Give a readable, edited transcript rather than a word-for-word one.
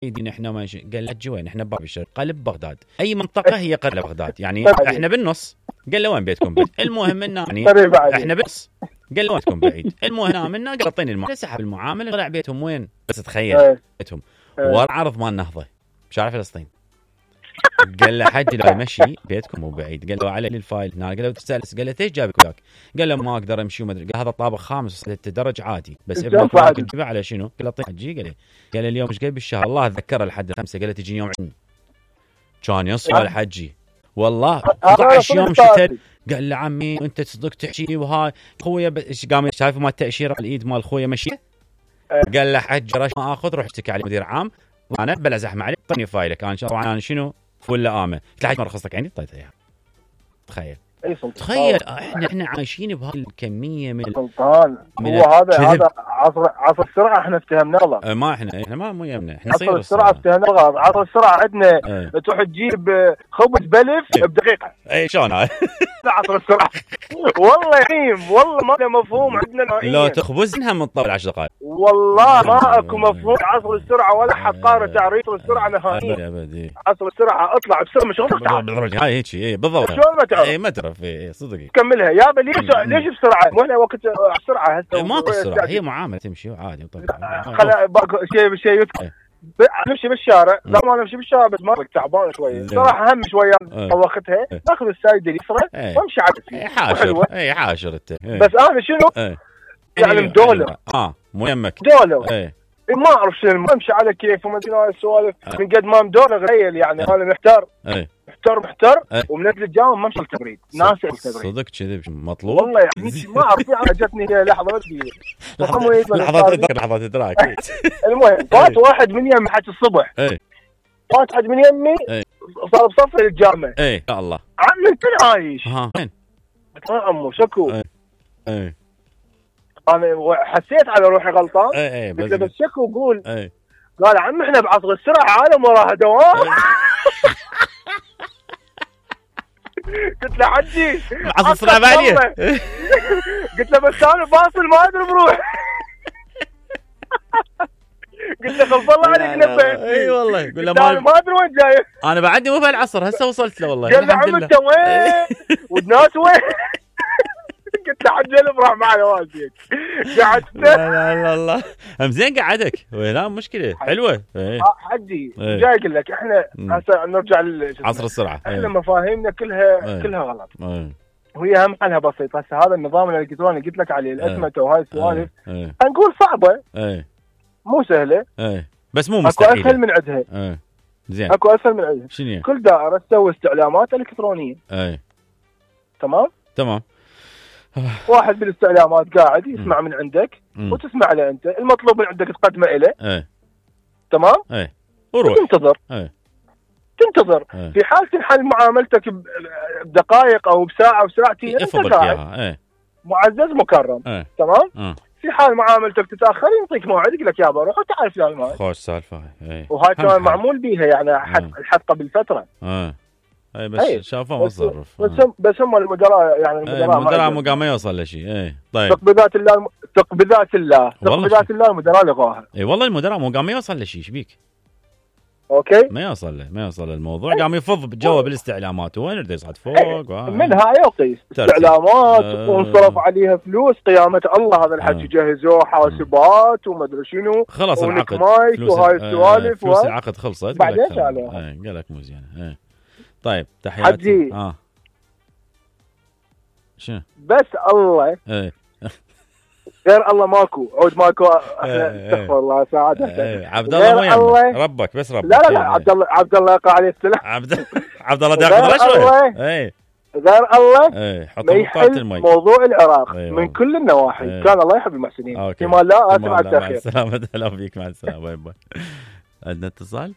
احنا ماشي. قال له حجي وين؟ احنا بباب الشرق. قال بغداد. اي منطقه هي قريبه لبغداد يعني احنا بالنص. قال له وين بيتكم بعيد؟ المهم انه يعني احنا بالنص. قال له وين بيتكم بعيد؟ المهم منا قال اعطيني المعامله. سحب المعامله طلع بيتهم وين؟ بس تخيل بيتهم ورا عرض مال النهضه بشارع فلسطين. قال له حجي لا مشي بيتكم مو بعيد. قال له علي الفايل هنا. قال له تسال. قال له ليش جابك وياك؟ قال له ما اقدر امشي وما ادري. قال هذا طابق خامس درج عادي بس ابنك ممكن تجيبه على شنو؟ قال له حجي. قال اليوم ايش قال بالشهر؟ الله اتذكره لحد 5. قال له تجي يوم كان يصل الحجي والله 11 يوم شتت. قال له عمي انت تصدق تحكي وهاي خويا قام شايف ما التاشيره على الايد مال خويا مشي. قال له حج رش ما اخذ روح اشتكي على مدير عام وانا بلا زحمه عليك اعطيني فايلك انا طبعا انا شنو ولا امه. قلت له حج ما رخصتك عندي اعطيته اياها. تخيل احنا عايشين بهذه الكميه من سلطان. هو هذا عصر السرعه احنا افتهمنا غلط. ما احنا ما مو يمنا احنا عصر السرعه افتهمنا غلط. عصر السرعه عندنا تروح تجيب خبز بلف بدقيقه. اي شلون هاي عصر السرعه والله يعيم والله ما له مفهوم عندنا نهائيا. لو تخبزها من طول 10 دقائق والله ما اكو مفهوم عصر السرعه ولا حد قارن تعريف السرعه نهائيا. ابدي عصر السرعه اطلع بسرعه مش غلط. هاي هيك اي بالضبط. شلون ما تعرف؟ اي ما تعرف صدقي كملها يابا. ليش بسرعه؟ مو احنا وقت السرعه هسه ما بسرعه هي معامله تمشي عادي خلا شيء نمشي بالشارع. لا ما نمشي بالشارع بس ما تعبان شويه صراحه هم شويه وقتها ناخذ السايد اليسرى وامشي عادي حاشر. اي حاشر انت بس انا شنو يعني مدولر مو يمك دولر ما اعرف شنو امشي على كيف وما ادري السوالف من قد ما مدولر غير يعني انا محتار ومنزل الجامعه ما مشي التبريد ناس التبريد صدق كذب مطلوب والله يعني ما اعرف جتني لحظه لحظه ادراك. المهم فات واحد من يمي حتى الصبح فات واحد من يمي صار بصف الجامعه. يا الله عمي انت عايش وين؟ قلت له عمو شكو. انا حسيت على روحي غلطان. قلت له بس شكو قول. قال عم احنا بعصر السرعه عالم وراها دوام. قلت له حجي عصر السرعه بعدين. قلت له بس انا باصل ما ادري بروح. قلت له خلص الله عليك نبهتني. اي والله قول له ما ادري وين جاي. انا بعدني مو بهالعصر هسه وصلت له والله. قال له عم انت وين والناس وين؟ قلت له حجي افرح معي والديك. قعدت لا الله زين قعدك لا مشكله حلوه. حجي جاي اقول لك احنا هسه نرجع عصر السرعه. احنا مفاهيمنا كلها غلط. وهي هم حلها بسيط. هسه هذا النظام الالكتروني قلت لك عليه الاسمته وهاي السوالف نقول صعبه مو سهله بس مو مستحيله. اكو اسهل من عندها. زين اكو اسهل من عندها. شنو؟ كل دائره تسوي استعلامات الكترونيه. تمام واحد بالاستعلامات قاعد يسمع من عندك وتسمع له انت المطلوب من عندك تقدمه له. تمام وروح تنتظر في حال تنحل معاملتك بدقائق او بساعه وساعتين انت قاعد معزز مكرم. تمام في حال معاملتك تتاخر يعطيك موعد يقول لك يابا روح وتعال فلان الموعد. خوش سالفه وهاي كمان معمول بيها يعني الحد قبل فتره. اي بس شافوا مصرف. بس هم المدراء يعني المدراء مو قام يوصل لشيء. طيب تقبيلات الله المدراء لغاها. اي والله المدراء مو قام يوصل لشيء ايش بيك؟ اوكي ما يوصل للموضوع. قام يفض جوا بالاستعلامات وين يريد يصعد فوق منها يقيس استعلامات وانصرف عليها فلوس قيامه الله. هذا الحكي جهزوه حاسبات وما ادري شنو خلص العقد وهاي السوالف فلوس العقد خلصت بعدين سالوها قال لك مو زين. طيب تحياتي شنو بس الله غير الله ماكو عود ماكو. استغفر الله ساعات عبد الله مو يعني ربك بس ربك. لا عبد الله يقع عليه السلام. عبد الله ياخذ رشوه. غير الله ما يحل موضوع العراق من كل النواحي. كان الله يحب المحسنين. فيما لا اسف على التاخير. مع السلامه. هلا بيك مع السلامه. باي باي. عندنا اتصال.